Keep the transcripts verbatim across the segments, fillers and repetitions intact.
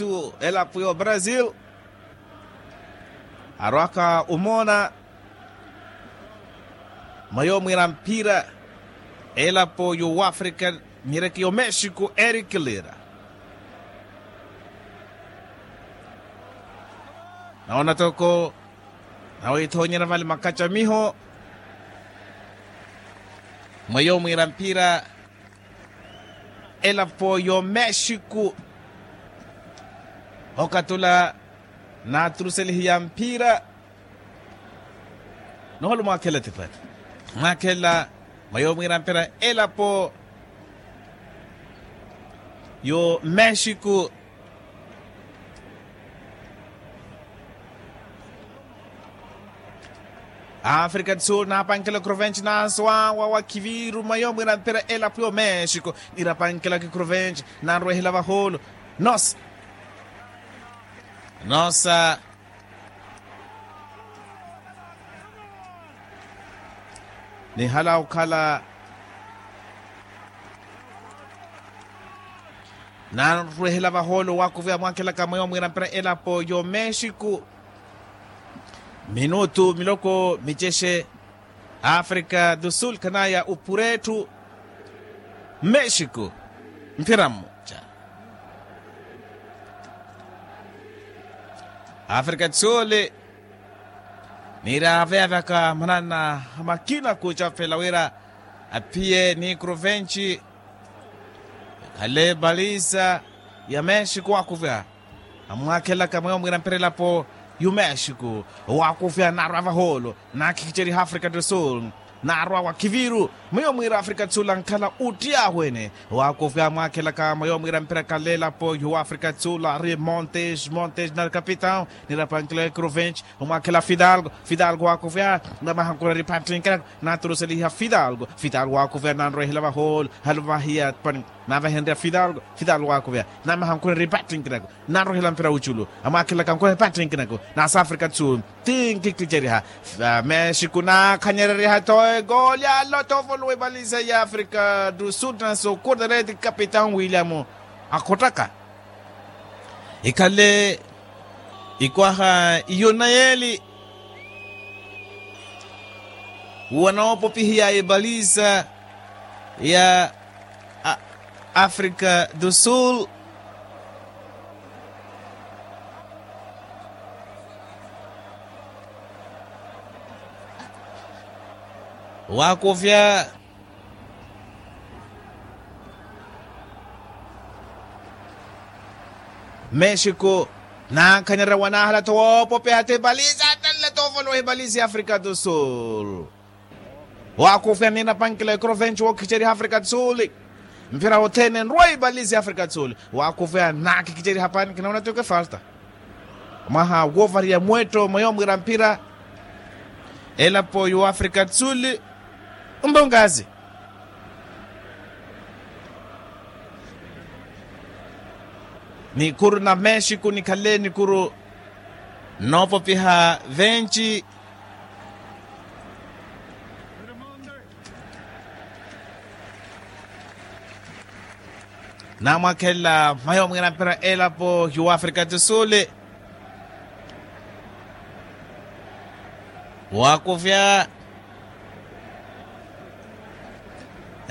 Elapo ya obrasil arwaka omoona. Mwa yoomiira mphira elapo y'owafrika, miireke y'omexico erikilira. Nawoona toko nawiithoonyerya vale makacamiho. Mwa yoomiira mphira elapo y'omexico okatula naaturuselihiya mphira. Noholo mwaakhela tipati mwaakhela mwa yoomiira mphira elapo y'omexico. Afrika du sul naapankela kruvenci naaso awa wakhiviru mwa yoomiira mphira elapo y'omexico. Nirapankela kikruvenci nanrwehela vahoolo. Nosa nosa nihala okhala nanrwehela vahoolo wakuviha mwakhelaka mwa yoomiira mphira elapo y'omexico. Minutu miloko micexe. Afrika du sul khanaya opura etthu. Mexico mphira mmoja. Afrika du sul niiraveyavyaka manana a makina kucafela wira aphiye ni kruvenci. Khale balisa ya mexico wakuviha amwaakhelaka mweyo mwiira mphira elapo y'umexico. Owaakufya naarwa vahoolo naakhikiceriha afrika du sul. Naarwa wakhiviru mweyo mwiira afrika du sul ankhala ottiy'ahu ene. Owaakufya amwaakhelaka mweyo mwiira mphira khale elapo y'uafrika du sul ari montes montes na capitão. Nirapankela ekruvenci omwakhela fidalgo. Fidalgo waakufya namaha nkureri pattinkirako. Naturuseliha fidalgo. Fidalgo waakufya nanrwehela vahoolo halo vahiya pani. Navahenrya fidalgo. Fidalgo waakufya namaha nkureri pattinkirako. Nanrwehela mpira wuculu amwakhela kankohe pattinkirako. Nasa afrika du sul tinkikicerya. Mexico naakhanyereriha to egoli alo to volowa evalise ya afrika du sul naso kurdereti capitão william akhottaka. Ikhale ikwaha iyo nayeli wanoopopihiya ebalisa ya afrika du sul. Waakufya mexico naankhanyarewa naahala tho woopopeha ti ebalisi atanle tho ovolowa ebalisi ya afrika du sul. Waakufya ninapankela ekrovenci wookhiceriha afrika du sul. Mphira othene nrwa ebalisi ya afrika du sul. Waakufya naakhikiceriha pani kinaona tiko efalta. Mwaha woovariya mwetto mweyo mwiira mphira elapo y'uafrika du sul. Mbongazi nikuru na mexico nikhale nikuru noopopiha venci. Namwakhelela mwayo mwiira mpira elapo y'uafrika du sul. Waakufya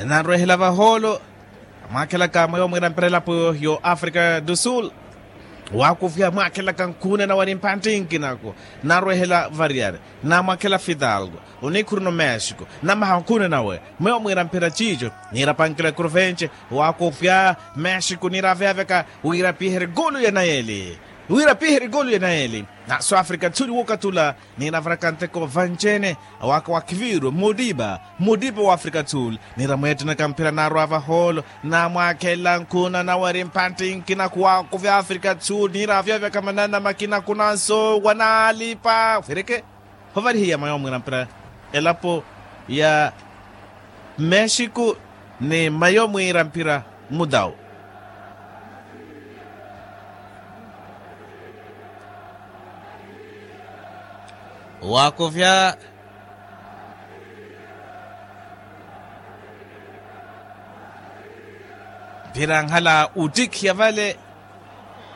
nanrwehela vahoolo. Amwaakhelaka mweyo mwiira mpira elapo y'uafrika du sul. Waakufya amwaakhelaka nkhuuna nawe ni mphantti nkinako. Narwehela variyari namwakhela fidalgo. Onikhuru no mexico namaha nkhuuna nawe. Mweyo mwiira mpira ciico niirapankela ekruvenci. Waakufya mexico niiraveyavyaka wira piiherye golu ya nayeli. Wira piiherye golu ya nayeli. Naso afrika du sul wookatula niinavaraka nteko vanci-ene. Awaaka wa khiviru mudipa mudipa wa afrika du sul. Niira mweettenaka mphira naarwa vahoolo namwakhela nkhuuna nawe eri mphantti nkinako waakufya afrika du sul niiraveyavyaka manana makina kunanso wanaalipa fireke. Hovarihiya mwayo mwiira mpira elapo ya mexico ni mwayo mwiira mpira mudau. Waakufya mpira nkhala ottikhiya vale.